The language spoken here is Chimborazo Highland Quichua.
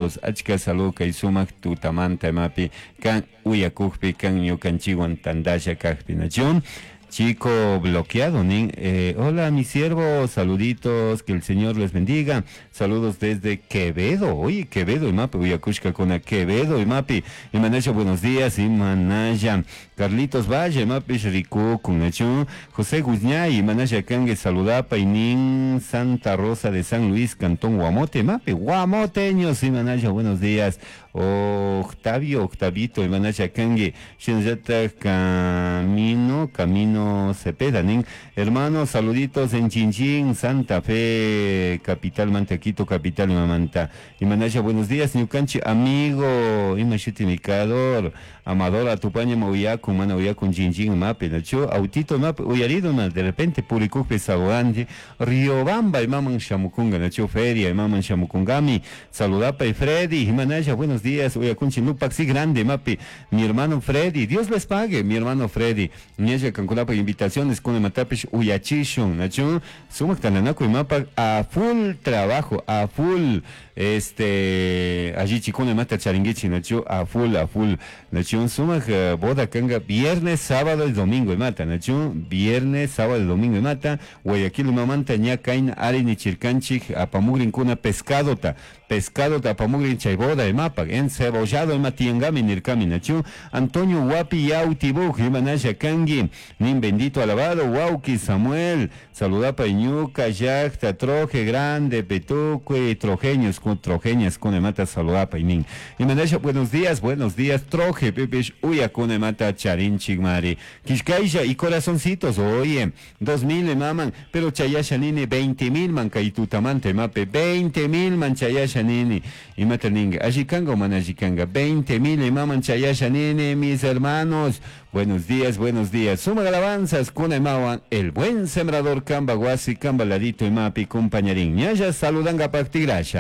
Saludos, achka saludo kay sumak tutamanta imapi kan uyakukpi kan ñukanchikwan tantalla kakpi nachu. Chico bloqueado, nin. Hola, mi siervo, saluditos, que el Señor les bendiga. Saludos desde Quevedo. Oye, Quevedo, imapi, uyakushkakuna, Quevedo, imapi. Imanaya, buenos días, Imanaya. Carlitos Valle, imapi, rikukun, nachu. José Guzñay, Imanaya, kangue, saludapa, y nin Santa Rosa de San Luis, Cantón Guamote, imapi, Guamoteños, Imanaya, buenos días. Octavio, Octavito, Imanaya, kangue, Shinallata, Camino, Camino Cepeda, nin. Hermanos, saluditos en Chinchín, Santa Fe, capital Mantequito, capital Mamanta. Imanaya, buenos días, ñukanchi, amigo, Imashuti Mikador, Amador, Atupaña, Mauyaku, Mana Uyakun, Chinchín, Mape, Nacho, Autito, Mape, Uyarido, ma, de repente, Purikupe, Saboandi, Riobamba, Imaman Shamukunga, Nacho, Feria, Imaman Shamukungami, saludapa y Freddy, Imanaya, buenos días, Uyakunchi, Nupaxi Grande, Mapi, mi hermano Freddy, Dios les pague, mi hermano Freddy, Ñaya Kankunapa, invitaciones con Matapish, Uyachishun, Nacho, Sumak Tananaku y Mapa, a full trabajo, a full, este, allí chikuna mata charinguichi, Nacho, a full, a full, Nacho, sumak boda kanga, viernes, sábado y domingo, y mata, Nacho, viernes, sábado y domingo, y mata, Guayaquil, mamanta, ñakain, arini, chirkanchik, apamugrin, kuna, pescado, ta, pescado, ta, apamugrin, chayboda, y mapa, encebollado, y matiengami, nirkami, Nacho, Antonio Guapi, Yautibuj, Imanaya, Kangi, nin bendito alabado, Wauki, Samuel, saludapa, Iñuca, Yacta, Troje, Grande, Petuque, Trojeños, con Trojeñas, con Emata, saludapa, y nin. Imanaya, buenos días, buenos días, Troje, Pepe, Uya, con Emata, Charín, Chigmari, Quiscaisha y corazoncitos, oye, 2000 maman, pero Chayasha nini, 20,000 man, Kaitutamante, mape, 20,000 man, Chayasha nini, y mata ninga, Ashikanga o manashikanga, 20,000 maman, Chayasha nini, mis hermanos, buenos días, buenos días, suma alabanzas, con emawan, el buen sembrador, Kamba, Guasi, Kamba, Ladito, y Mapi, compañerín, ñaya, saludanga, pactigrasha.